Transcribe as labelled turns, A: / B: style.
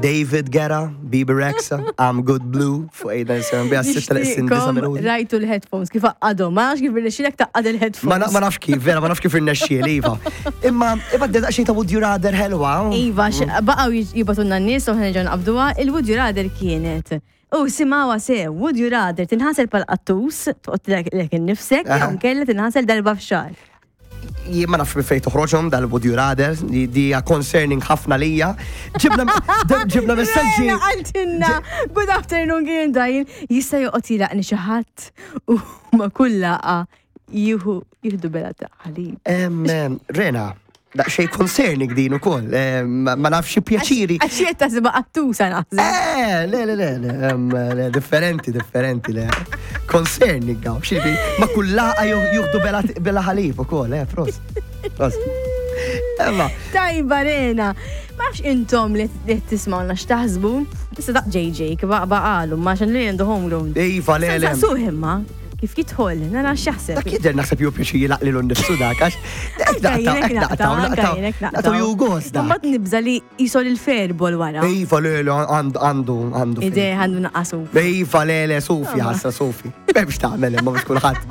A: David Guetta, Bebe Rexha, I'm Good Blue, fuq 897 bija 6 minuti.
B: Rajtu l-headphones, kif għaqqadhom, ma nafx kif irnexxielek taqqad il-headphones.
A: Ma nafx kif, vera, ma nafx kif irnexxieli, Iva. Imma, imma d-daqxej ta' Would You Rather ħelwa.
B: Iva, baqgħu jibatunna n-nies u ħna nqabduha, il-Would You Rather kienet. U simawa se, would you rather tinħasel pal qattus, toqgħod lek innifsek, jew nkella tinħasel darba f'xahar.
A: Jien ma nafx minn fejn toħroġhom dal-would you rather, di hija concerning ħafna lija. Ġibna ġibna messaġġi.
B: Għaltinna, good afternoon kien dajn, jista' joqgħod jilaqni xi ħadd u ma kull laqa jieħu jieħdu bela ta' ħalib.
A: Rena, daqsxejn concerning din ukoll, ma nafx pjaċiri.
B: Għax jien taħsibha qattusa naħseb.
A: Eh, le, le, le, le, differenti, differenti, le. Concerning għaw, xiebi, ma kull laqa juhdu bela ħalib ukoll, eh, pros. Pros.
B: Emma. Tajba Rena, ma nafx intom li tismawna x'taħsbu. Issa daq JJ kif baqalu, ma xan li għandu homegrown.
A: Iva, le, le.
B: Saqsuh imma. Kif jidħol, nara x'jaħseb.
A: Dak jidher naħseb jew pjaċir jilaq lilu nnifsu dak għax naqtaw jew gost dak.
B: Mbagħad nibża li jisol il-ferbol wara.
A: Iva le le għandu għandu.
B: Ide għandu naqqasu.
A: Iva le le Sofi ħassa Sofi. M'hemmx tagħmel imma mhux kulħadd.